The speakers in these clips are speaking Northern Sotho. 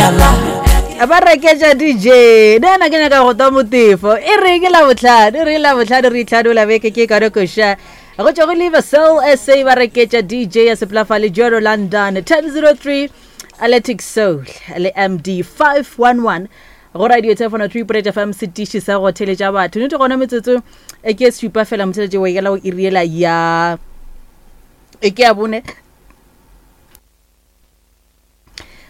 Ba reketša DJ nna ke nyaka go twa motefo e re ke labohlano e re labohlano re itlhanola beke ke ka koša go tšwa go Liver Soul SA ba reketša DJ ya sepolafale Joro London 1003 Atlantic Soul le MD 511 go radio telefono 3.8 FM setiši sa go theletša batho nete gona metsotso e ke supa fela motheletše wa ikela go iriela ya e ke ya bone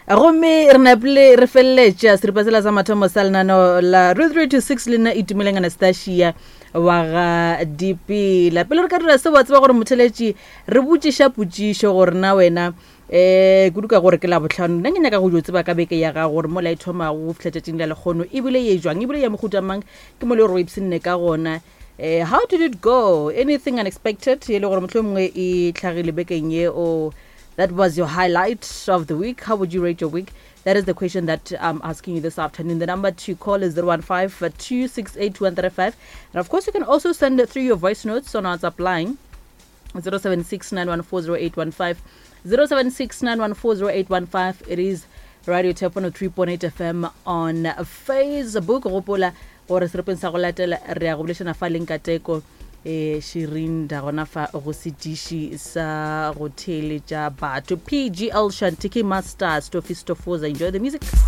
gomme re napile re feleletša seripa sela sa mathomo sa lenaneo la re 3 to 6 le nna itumeleng anastasia wa ga dipela pele re ka dira se wa tseba gore motheletši re botšiša potšišo gore na wena um kudu ka gore ke labohlano nna ke nyaka go jo tseba ka beke ya gago gore mola e thomago go fihla tšatšing la lekgono ebile ye jwang ebile ya mohuta mang ke mo le gore o ipshinne ka gona um how did it go anything unexpected e le gore motlho mongwe e tlhagile bekeng ye o that was your highlight of the week how would you rate your week that is the question that i'm asking you this afternoon the number to call is 015 268 135 and of course you can also send through your voice notes on our whatsapp line 076 914 076 914 It is Radio Tepono 3.8 FM on Facebook. Gopola gore serepeng sa go latela re ya go bolešana fa leng kateko eh Shirinda gona fa go setiši sa go theeletša batho. PGL Shantiki Master Stofi Stofoza. Enjoy the music.